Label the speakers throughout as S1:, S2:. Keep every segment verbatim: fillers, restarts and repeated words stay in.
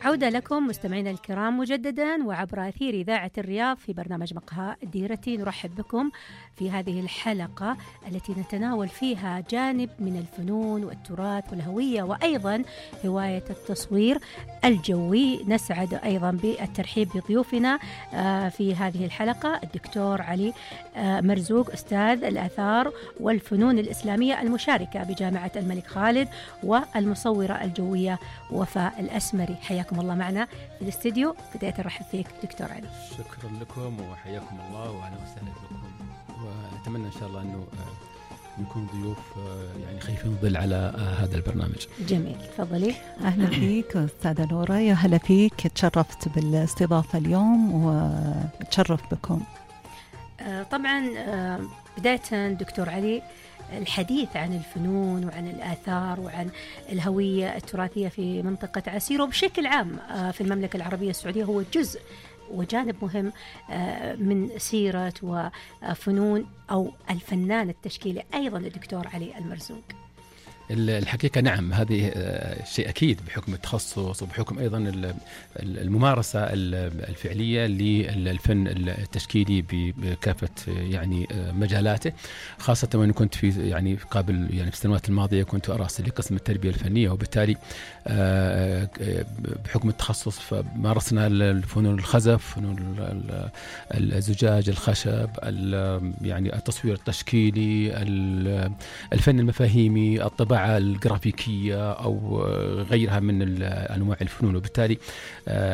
S1: عودة لكم مستمعينا الكرام مجددا وعبر أثير إذاعة الرياض في برنامج مقهى ديرتي. نرحب بكم في هذه الحلقة التي نتناول فيها جانب من الفنون والتراث والهوية وأيضا هواية التصوير الجوي. نسعد أيضا بالترحيب بضيوفنا في هذه الحلقة الدكتور علي مرزوق أستاذ الآثار والفنون الإسلامية المشاركة بجامعة الملك خالد والمصورة الجوية وفاء الأسمري. حياكم الله معنا في الاستديو. بداية نرحب فيك دكتور علي.
S2: شكرا لكم وحياكم الله واهلا وسهلا بكم، واتمنى ان شاء الله انه نكون ضيوف يعني خايفين ظل على هذا البرنامج.
S1: جميل، تفضلي.
S3: اهلا فيك استاذه نوره، يا هلا فيك، تشرفت بالاستضافه اليوم وتشرف بكم.
S1: طبعا بداية دكتور علي، الحديث عن الفنون وعن الآثار وعن الهوية التراثية في منطقة عسير وبشكل عام في المملكة العربية السعودية هو جزء وجانب مهم من سيرة وفنون أو الفنان التشكيلي أيضا الدكتور علي المرزوق.
S2: الحقيقة نعم، هذه شيء أكيد بحكم التخصص وبحكم أيضا الممارسة الفعلية للفن التشكيلي بكافة يعني مجالاته، خاصة وأن كنت في يعني قبل يعني في السنوات الماضية كنت أرأس لقسم التربية الفنية، وبالتالي بحكم التخصص فمارسنا الفنون الخزف، فنون الزجاج، الخشب، يعني التصوير التشكيلي، الفن المفاهيمي، الطباعة الجرافيكية أو غيرها من أنواع الفنون. وبالتالي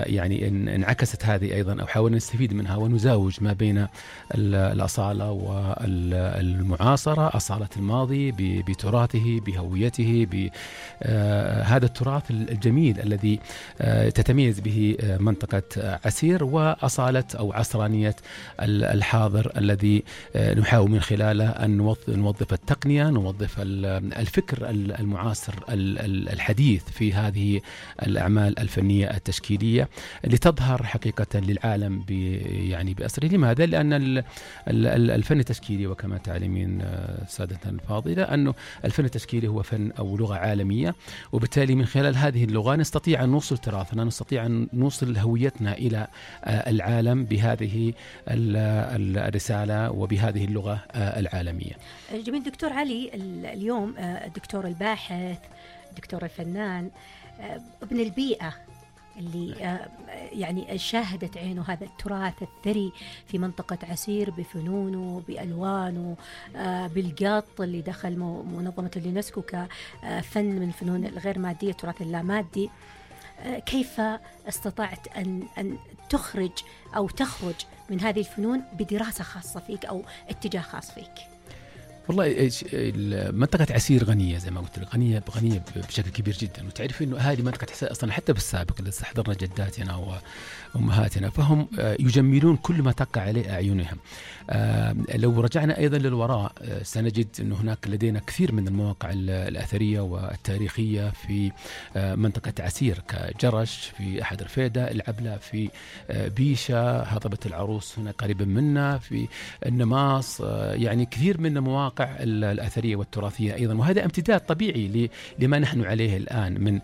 S2: يعني انعكست هذه أيضا أو حاولنا نستفيد منها ونزاوج ما بين الأصالة والمعاصرة، أصالة الماضي بتراثه بهويته، بهذا التراث الجميل الذي تتميز به منطقة عسير، وأصالة أو عصرانية الحاضر الذي نحاول من خلاله أن نوظف التقنية، نوظف الفكر المعاصر الحديث في هذه الأعمال الفنية التشكيلية لتظهر حقيقة للعالم يعني بأسره. لماذا؟ لأن الفن التشكيلي وكما تعلمين سادتنا الفاضلة أنه الفن التشكيلي هو فن أو لغة عالمية، وبالتالي من خلال هذه اللغة نستطيع أن نوصل تراثنا، نستطيع أن نوصل هويتنا إلى العالم بهذه الرسالة وبهذه اللغة العالمية.
S1: جميل دكتور علي، اليوم الدكتور الباحث، الدكتور الفنان، ابن البيئة اللي يعني شاهدت عينه هذا التراث الثري في منطقة عسير بفنونه بألوانه بالقط اللي دخل منظمة اليونسكو كفن من الفنون الغير مادية، التراث اللامادي. كيف استطعت أن أن تخرج أو تخرج من هذه الفنون بدراسة خاصة فيك أو اتجاه خاص فيك؟
S2: والله منطقة عسير غنية زي ما قلت لك، غنية غنية بشكل كبير جدا، وتعرف إنه هذه منطقة عسير أصلا حتى بالسابق اللي استحضرنا جداتنا وأمهاتنا فهم يجملون كل ما تقع عليه أعينهم. لو رجعنا أيضا للوراء سنجد أنه هناك لدينا كثير من المواقع الأثرية والتاريخية في منطقة عسير، كجرش في أحد رفيدة، العبلة في بيشة، هضبة العروس هنا قريبا منا، في النماص، يعني كثير من المواقع الأثرية والتراثية أيضا، وهذا امتداد طبيعي لما نحن عليه الآن من